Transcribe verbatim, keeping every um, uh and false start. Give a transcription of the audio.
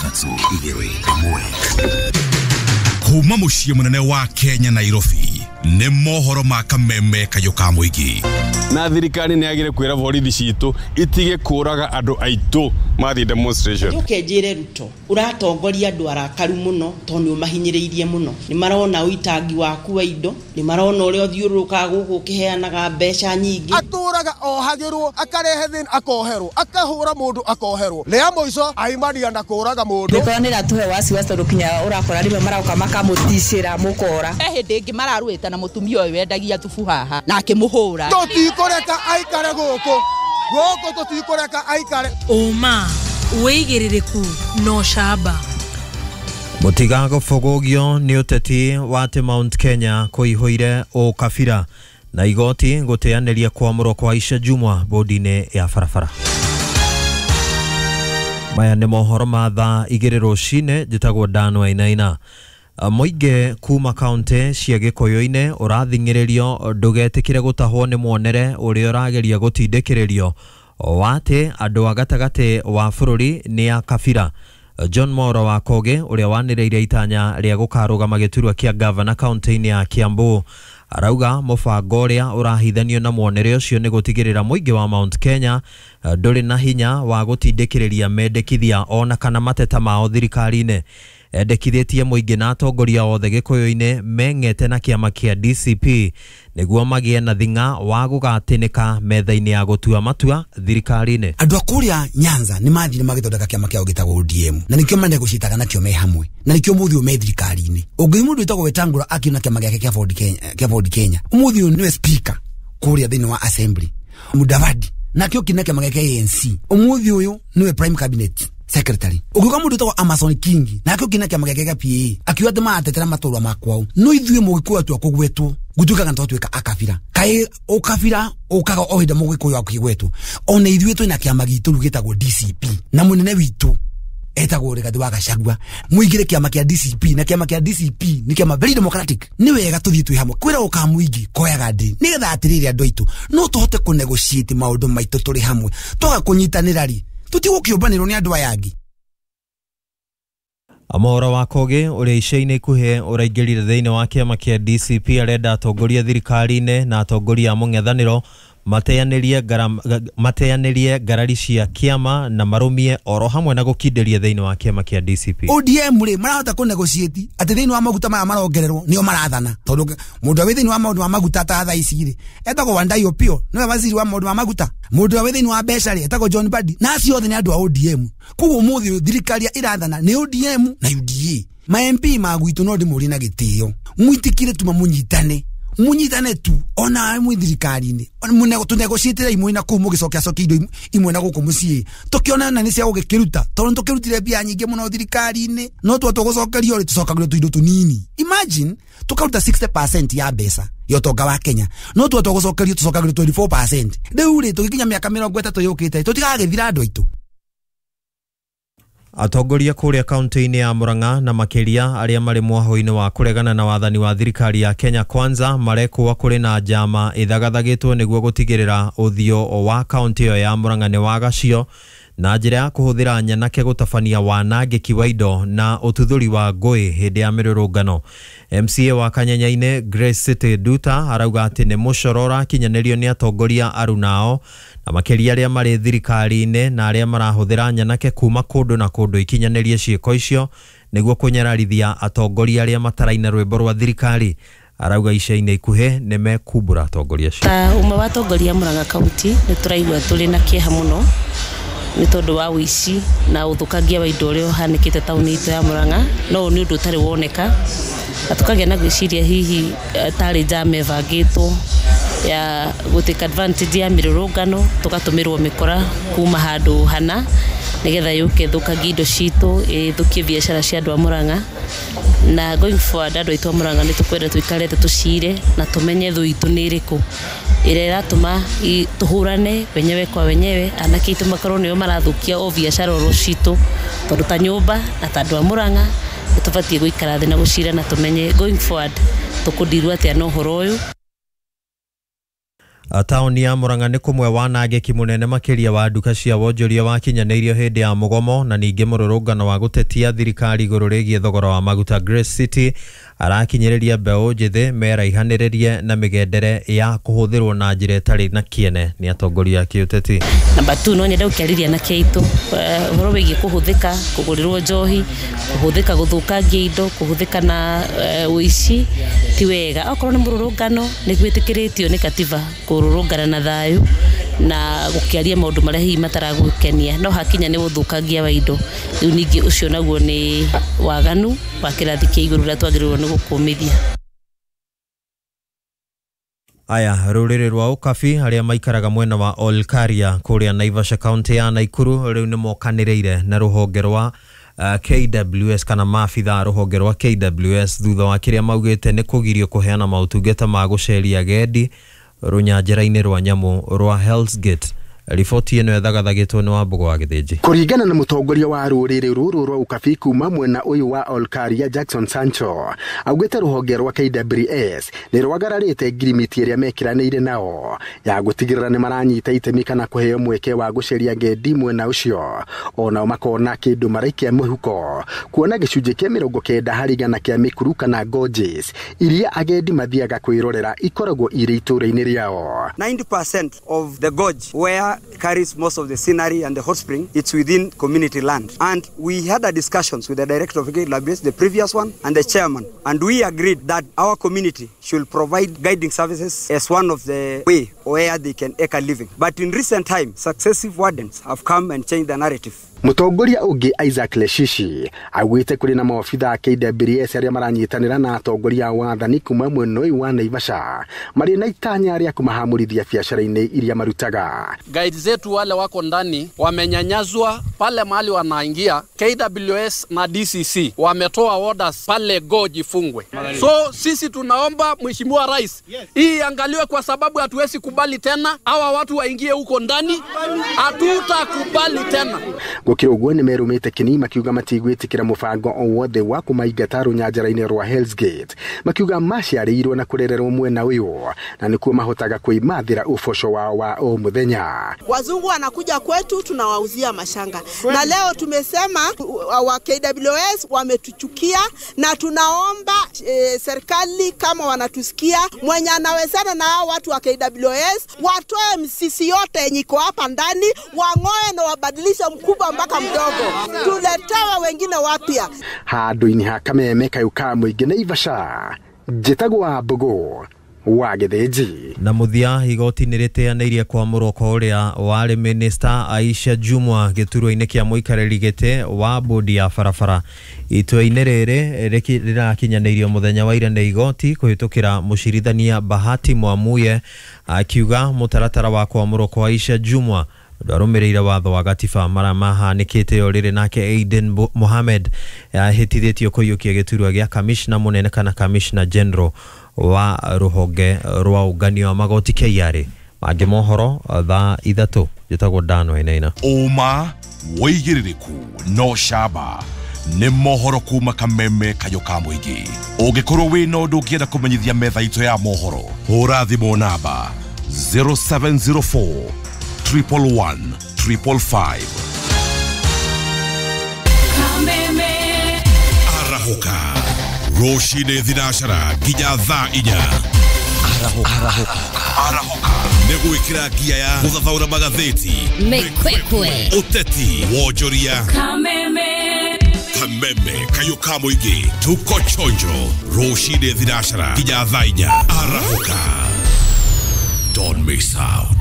Ithatũ, igĩrĩ, ĩmwe. Kuma mũciĩ mũnene wa Kenya, Nairobi, nĩ mohoro ma kameme kayũ ka mũingĩ. Na thirikari nĩ yagire kwĩra borithi citũ itige kũraga andũ aitũ mathiĩ demonstration. Njoke njĩre Ruto, ũratongoria andũ arakaru mũno tondũ nĩ ũmahinyĩrĩirie mũno. Nĩ marona ũitangi waku wa indo, nĩ marona ũrĩa ũthiũrũrũkaga gũkũ ũkĩheanaga mbeca nyingĩ. Atũraga ohagĩrwo, akarehe thĩna akoherwo, akahũra mũndũ akoherwo, rĩa mũico aimania na kũraga mũndũ. Mĩkora nĩ ĩratũhe wasiwasi tondũ kinya ũrakora rĩmwe marauka makamũticĩra mũkora. He hĩndĩ ĩngĩ mararũĩte na mũtumia ũyũ wendagia thubu haha na akĩmũhũra. Tũtikũreka aikare gũkũ, gũkũ tũtikũreka aikare. Ũma, wĩigĩrĩrĩku na ũcamba. Mũtiga gũbũgũgio nĩ ũteti wa atĩ Mount Kenya kũihũire ũkabira na igoti gũteanĩria kwamũrwo kwa Aisha Jumwa bodi-inĩ ya barabara. Maya nĩ mohoro ma thaa igĩrĩ rũcinĩ. Njĩtagwo Dan Wainaina. Mũingĩ kuma kaunti cia Gĩkũyũ-inĩ ũrathing'ĩrĩrio ndũgetĩkĩre gũtahwo nĩ muonere ũrĩa ũrageria gũtindĩkĩrĩrio wa atĩ andũ a gatagatĩ wa bũrũri nĩ a kabira. John Moro wa Koge ũrĩa wanĩrĩire itanya rĩa gũkarũgama gĩturwa kĩa gavana kaunti-inĩ ya Kiambu arauga mũbango ũrĩa ũrahithanio na muonere ũcio nĩ gũtigĩrĩra mũingĩ wa Mount Kenya ndũrĩ na hinya wa gũtindĩkĩrĩria mendekithia ona kana mateta mao thirikari-inĩ. Endekithĩtie mũingĩ na atongoria othe Gĩkũyũ-inĩ meng'ete na kĩama kĩa D C P nĩguo magĩe na thing'a wa gũgatĩnĩka metha-inĩ ya gũtua matua thirikari-inĩ. Andũ a kũrĩa Nyanza nĩ mathire magĩthondeka kĩama kĩao gĩtagwo O D M, na nĩkĩo manegocitaga nakĩo me hamwe, na nĩkĩo mũthĩ ũyũ me thirikari-inĩ. Ũngĩ mũndũ wĩtagwo Wetangula akiuna kĩama gĩake kĩa Ford Kenya, kĩa Ford Kenya, ũmũthĩ ũyũ nĩwe speaker kũrĩa thĩinĩ wa assembly. Mudavadi nakĩo kĩna kĩama gĩake A N C, ũmũthĩ ũyũ nĩwe prime cabinet secretary. Ũngĩũka mũndũ wĩtagwo Amason Kingi nake ũkĩna kĩama gĩake gĩa P A, akiuga atĩ maratetera matũra ma kwao, no ithuĩ mũgĩkũyũ atua kũgwetwo gũtuĩkaga nĩtwatuĩka akabira. Kaĩ ũkabira ũkaga o hĩndĩ mũgĩkũyũ akĩgwetwo? Ona ithuĩ twĩna kĩama gitũ rĩu gĩtagwo D C P, na mũnene witũ etagwo Rigathi wa Gachagua. Muingire kĩama kĩa D C P, na kĩama kĩa D C P nĩ kĩama very democratic. Nĩ wega tũthiĩ twĩ hamwe kwĩra ũka mũingĩ koyaga ndĩ nĩgetha atĩrĩrĩ andũ aitũ no tũhote kũnegotiate maũndũ maitũ tũrĩ hamwe. Twaga kũnyitanĩra rĩ, tũtigũkĩũmbanĩrwo nĩ andũ aya angĩ. Mohoro wa Kogi ũrĩa ica-inĩ ikuhĩ ũraingĩrire thĩinĩ wa kĩama kĩa D C P arenda atongoria thirikari-inĩ na atongoria a mũng'ethanĩro mateanĩrie mateanĩrie ngarari cia kĩama na marũmie oro hamwe na gũkindĩria thĩinĩ wa kĩama kĩa D C P. O D M rĩ, marahota kũ negotiate atĩ thĩinĩ wa maguta maya marongererwo nĩo marathana, tondũ mũndũ wĩ thĩinĩ wa maũndũ ma maguta ta thaa ici rĩ etagwo Wandayi Opio, nĩwe waziri wa maũndũ ma maguta. Mũndũ wĩ thĩinĩ wa mbeca rĩ etagwo John Mbadi, na acio othe nĩ andũ a O D M. Koguo ũmũthĩ thirikari ĩrathana nĩ O D M na U D A. Ma M P ma gwitũ, no ndĩmũrie na gĩtĩo, mwĩtĩkire tuma mũnyitane, munyitane tu ona mwi thirikari-inĩ, tũnegotiatĩra imwe na kũu, mũgĩcokia cokia indo imwe na gũkũ mũciĩ, tũkĩona na nĩ cia gũgĩkĩruta, tondũ tũkĩrutire mbia nyingĩ mũno thirikari-inĩ, no twa tũgũcokerio rĩ, tũcokagĩrio tũindo tũnini. Imagine tũkaruta sixty percent ya mbeca ya ũtonga wa Kenya, no twa tũgũcokerio tũcokagĩrio twenty-four percent. Rĩu rĩ, tũgĩkinya mĩaka mĩrongo ĩtatũ yũkĩte, tũtigagĩthira andũ aitũ. Atongoria kũrĩa kaunti-inĩ ya Murang'a, na makĩria arĩa marĩ mwahũ-inĩ wa kũregana na wathani wa thirikari ya Kenya Kwanza, marekũa kũrĩ na njama ĩthagathagĩtwo nĩguo gũtigĩrĩra ũthiũ wa kaunti ĩyo ya Murang'a nĩ wagacio na njĩra ya kũhũthĩra nyanake gũtabania wanangĩki wa indo na ũtuthũri wa ngũĩ hĩndĩ ya mĩrũrũngano. M C A wa Kanyenyainĩ Grace City Nduta arauga atĩ nĩ mũcoro ũrakinyanĩrio nĩ atongoria arunao, na makĩria arĩa marĩ thirikari-inĩ na arĩa marahũthĩra nyanake kuma kũndũ na kũndũ ikinyanĩrie ciĩko icio nĩguo kũnyararithia atongoria arĩa mataraina rwĩmbo rwa thirikari. Arauga ica-inĩ ikuhĩ nĩ mekumbũra atongoria acio. Ta ũmwe wa atongoria Murang'a County, nĩ tũraigua tũrĩ na kĩeha mũno nĩ tondũ wa ũici na ũthũkangia wa indo ũrĩa ũhanĩkĩte taũni itũ ya Murang'a. No ũyũ nĩ ũndũ ũtarĩ woneka, na tũkagĩa na gwĩciria hihi eh, tarĩ njama ĩbangĩtwo ya gũ take advantage ya mĩrũrũngano, tũgatũmĩrwo mĩkora kuma handũ hana nĩgetha yũke ĩthũkangie indo citũ, ĩthũkie biacara cia andũ a Murang'a. Na going forward, andũ aitũ a Murang'a, nĩ tũkwenda tũikare thĩ tũcire na tũmenye thũ itũ nĩ ĩrĩkũ ĩrĩa ĩratũma i- tũhũrane wenyewe kwa wenyewe, anake aitũ makorwo nĩo marathũkia o biacara oro citũ, tondũ ta nyũmba na ta andũ a Murang'a nĩ tũbatiĩ gũikara thĩ na gũcira na tũmenye going forward tũkũndirwo atĩa na ũhoro ũyũ. Taũni ya Murang'a nĩ kũmwe wanangĩki mũnene makĩria wa nduka cia wonjoria wakinyanĩirio hĩndĩ ya mũgomo na ningĩ mũrũrũngano wa gũtetia thirikari igũrũ rĩgiĩ thogora wa maguta. Grace City arakinyĩrĩria mbeũ njĩthĩ meraihanĩrĩrie na mĩgendere ya kũhũthĩrwo na njĩra ĩtarĩ na kĩene nĩ atongoria a kĩũteti. Namba two, no nyende gũkĩarĩria na kĩaitũ ũhoro wĩgiĩ kũhũthĩka kũgũrĩrwo njohi, kũhũthĩka gũthũkangia indo, kũhũthĩka na ũici ti wega. Okorwo nĩ mũrũrũngano nĩ gwĩtĩkĩrĩtio nĩ katiba kũrũrũngana na thayũ na gũkĩaria maũndũ marĩa hihi mataragũkenia, no hakinya nĩ ũthũkangia wa indo rĩu ningĩ ũcio naguo nĩ waganu wa kĩrathi kĩa igũrũ ũrĩa twagĩrĩirwo nĩ gũkũmithia. Aya, rũrĩrĩ rwa Ũkabi arĩa maikaraga mwena wa Olkaria kũrĩa Naivasha kaunti ya Naikuru rĩu nĩ mokanĩrĩire na rũhonge rwa uh, K W S kana maabitha rũhonge rwa K W S thutha wa kĩrĩa maugĩte nĩ kũgirio kũheana maũtungata ma gũceria agendi rũnyanjara-inĩ rwa nyamũ rwa Hell's Gate. Riboti ĩno ĩthagathagĩtwo nĩ Wambũgũ wa Gĩthĩnji. Kũringana na mũtongoria wa rũrĩrĩ rũrũ rwa Ũkabi kuma mwena ũyũ wa Olkaria Jackson Sancho, augĩte rũhonge rwa K W S nĩ rwagararĩte ngirimiti ĩrĩa mekĩranĩire nao ya gũtigĩrĩra nĩ maranyita itemi kana kũheo mweke wa gũceria ngendi mwena ũcio, onao makona kĩndũ maraikia mũhuko kuona gĩcunjĩ kĩa mĩrongo kenda harĩ igana kĩa mĩkuru kana gorges iria agendi mathiaga kwĩrorera ikoragwo irĩ itũũra-inĩ rĩao. ninety percent of the gorge where carries most of the scenery and the hot spring, it's within community land. And we had a discussions with the director of K W S, the previous one, and the chairman, and we agreed that our community should provide guiding services as one of the way where they can make a living. But in recent times, successive wardens have come and changed the narrative. Mũtongoria ũngĩ Isaac Leshishi augĩte kũrĩ na maobitha a K W S arĩa maranyitanĩra na atongoria a wathani kuma mwena ũyũ wa Naivasha marĩ na itanya rĩa kũmahamũrithia biacara-inĩ iria marutaga. Guides zetu wale wako ndani wamenyanyazwa pale mahali wanaingia. K W S na D C C wametoa orders pale gorge ifungwe. So sisi tunaomba Mheshimiwa Rais hii iangaliwe, kwa sababu hatuwezi kubali tena hawa watu waingie huko ndani, hatutakubali tena. Gũkĩrĩ ũguo nĩ merũmĩte kĩni makiuga matigwĩtĩkĩra mũbango o wothe wa kũmaingata rũnyanjara-inĩ rwa Hell's Gate, makiuga maciarĩirwo na kũrererwo mwena ũyũ na nĩkuo mahotaga kwĩmathĩra ũboco wao wa o mũthenya. Wazungu wanakuja kwetu tunawauzia mashanga, na leo tumesema wa K W S wametuchukia, na tunaomba e, serikali kama wanatusikia, mwenye anawezana na hao watu wa K W S watoe msisi yote yenye iko hapa ndani, wang'oe na wabadilishe mkubwa mpaka mdogo, tuletewe wengine wapya. Handũ-inĩ ha Kameme kayũ ka mũingĩ Naivasha, njĩtagwo Wambũgũ wa Gĩthĩnji. Na mũthia, igoti nĩ rĩteanĩirie kwamũrwo kwa ũrĩa warĩ minista Aisha Jumwa gĩturwa-inĩ kĩa mũikarĩri gĩtĩ wa bodi ya barabara. Itua-inĩ rĩrĩ rĩrakinyanĩirio mũthenya wa ira nĩ igoti kũhĩtũkĩra mũcirithania Bahati Mwamuye akiuga mũtaratara wa kwamũrwo kwa Aisha Jumwa ndwarũmĩrĩire watho wa gatiba marĩa mahanĩkĩte o rĩrĩ. Nake Aiden Mohamed ahĩtithĩtio kũiyũkia gĩturwa gĩa kamishna mũnene kana kamishna general wa rũhonge rwa ũnganio wa magoti K R A. Mangĩ mohoro thaa ithatũ. Njĩtagwo Dan Wainaina. Ũma wĩigĩrĩrĩku no camba nĩ mohoro kuma Kameme kayũ ka mũingĩ. Ũngĩkorwo wĩna ũndũ ũngĩenda kũmenyithia metha itũ ya mohoro, hũra thimũ namba zero seven zero four triple one triple five. Kameme Arahoka rũcinĩ thinacara nginya thaa inya. Arahoka Arahoka nĩ gwĩkĩra ngia ya gũthathaũra magathĩti, mĩkwekwe, ũteti, wonjoria. Kameme Kameme kayũ ka mũingĩ, tuko chonjo rũcinĩ thinacara nginya thaa inya. Arahoka, don't miss out.